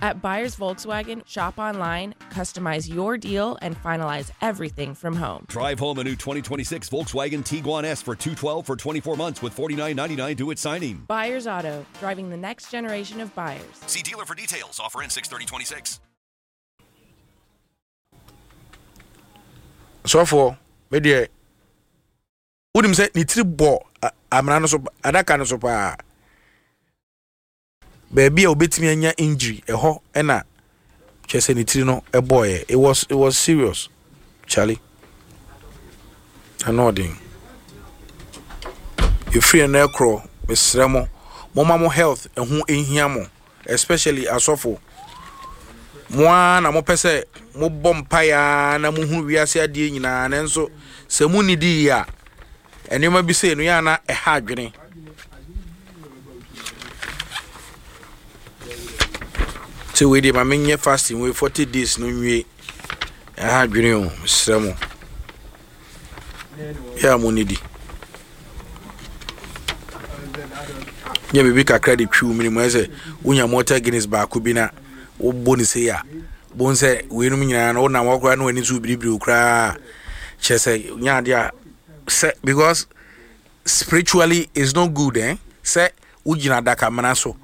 At Buyers Volkswagen, shop online, customize your deal, and finalize everything from home. Drive home a new 2026 Volkswagen Tiguan S for $212 for 24 months with $49.99 due at signing. Buyers Auto, driving the next generation of buyers. See dealer for details. Offer ends 6/30/26. Sɔfoɔ, me deɛ wonim sɛ ne tiri bɔ amena no so, adaka no so paa. Baabi a obetumi anya injury ɛhɔ ɛna kyerɛ sɛ ne tiri no ɛbɔɔyɛ. It was serious, Charlie. Ano ɔden. Efiri ɛno ɛkorɔ, mesrɛ mo, momma mo health ɛho ehia mo, especially asɔfo. Mo ara na mopɛ sɛ mobɔ mpaeɛ ara na mohunu wiase adeɛ nyinaa, nanso sɛ monnidi yie a, nneɛma bi sei no yɛ ana ɛha adwene. Sɛ wei deɛ ma menyɛ fasting wei 40 days no nwie, ɛha adwene o, mesrɛ mo. Yɛ a monnidi. Nyɛ biribi kakra de twiw mene mu ayɛ sɛ wonya Malta Guinness baako bi na wobɔ ne sei a, bohu sɛ weinom nyinaa no wonam hɔ koraa na w'ani so biribiri wo koraa, kyerɛ sɛ nyɛ adeɛ a sɛ because spiritually is not good, eh? Sɛ wogyina adakamena so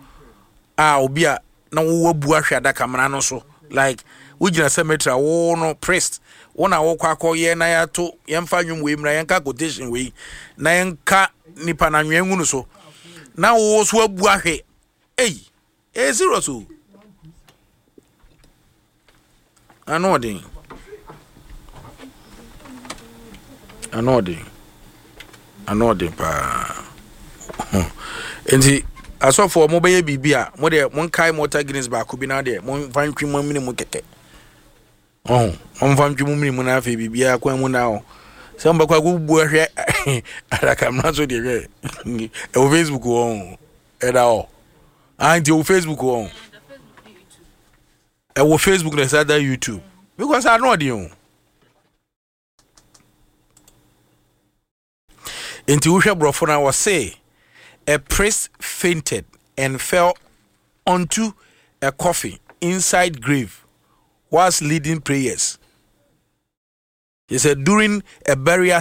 a, obi a na wowɔ abu ahwɛ adakamena no so, like wogyina cemetery a, wo no priest wo na wokɔ akɔyɛ na yɛato yɛmfa nnwom wei mmra, yɛnka quotation wei na yɛnka nipa na anwea ngu no so na wo so abu ahwɛ. Ei, ɛyɛ serious o. Ano ɔden, ano ɔden, ano ɔden paa. Nti asɔfoɔ, mobɛyɛ biribi a, mo deɛ monkae Malta Guinness baako bi na deɛ momfa ntwi mo amene mu kɛkɛ. Ɔho momfa ntwi mo mene mu na afei biribiara kwan mu na hɔ sɛ mobɛkɔ akɔbubu ahwɛ adakamena so deɛ. Hwɛ, ɛwɔ Facebook wɔ, ɛda hɔ. Ah, nti ɛwɔ Facebook wɔ, ɛwɔ Facebook na ɛsa da YouTube because ano ɔden o. Nti wohwɛ borɔfo no a, wɔse a priest fainted and fell onto a coffin inside grave whilst leading prayers. He said during a burial.